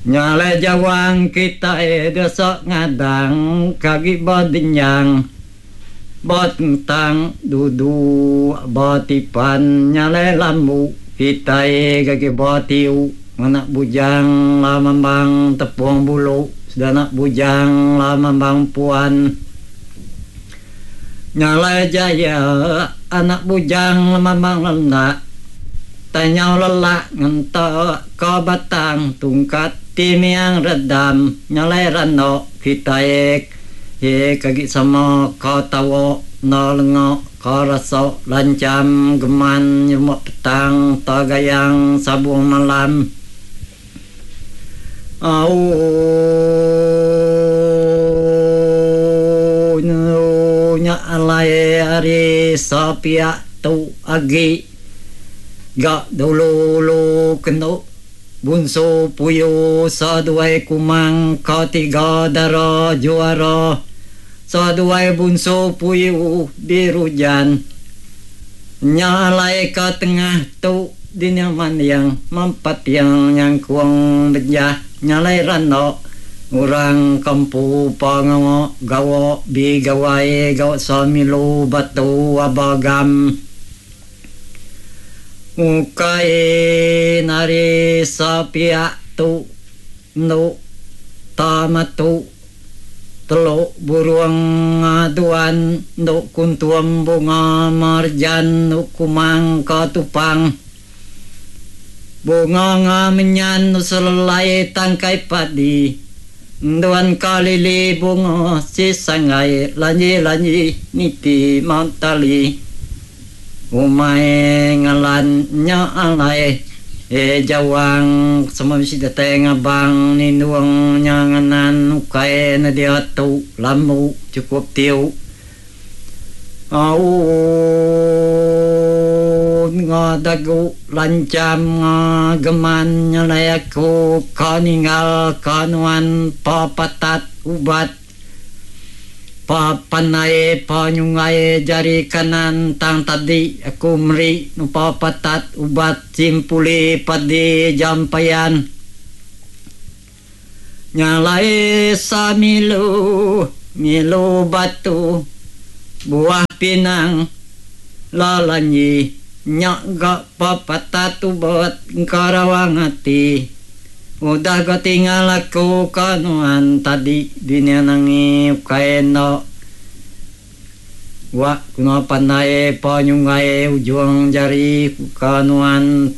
Nya alai jawang kitai desa ngadang ke agi bedenyang betentang duduk betipan nya alai lambu kitai ke agi betiu ngena bujang lamambang tepung bulu sedana bujang lamambang puan. Nya alai jaya anak bujang lemambang lenda tai nyau lelak ngenta ka batang tungkat ti miang redam nya alai rando kitai ke agi sama ka tawa enda lenga ka rasa lancham geman nyerumba petang ta gayang sabung malam. Au nya alai ari sepiak tu agi ga dulu ulu kenu Bunsu Puyu seduai Kumang ka tiga dara juara seduai Bunsu Puyu dirujan. Nya alai ka tengah tu dinya manding mempating nyangkung bejah nyalai randa orang ke empu pengawa gawa bi gawai gawa semilu batu aba gam. Ukai nari sepiak tu endu tamatu. Teluk burung aduan endu kuntum bunga marjan endu kumang ka tupang. Bunga nga menyan endu selelai tangkai padi enduan ka lili bunga si sanggai lanji-lanji niti mentali. Umai ngalan nya alai e jawang semua bisi datai ngabang nindung nya nganan ukai ne diatu lambu chukup tiu auu nga dagu lancham nga geman nya alai aku ka ninggal ka nuan pa patat ubat. Pa pandai pa nyunggai jari kanan tang tadi aku meri nupa patat ubat simpuli padi jampayan. Nya alai samilu ngilu batu buah pinang lalanyi nya ga pa patat ubat engka rawang ati. Udah ga tingal aku ka nuan tadi dunya nangi ukai enda wa ku nuan pandai pa nyunggai ujung jari ku ka nuan.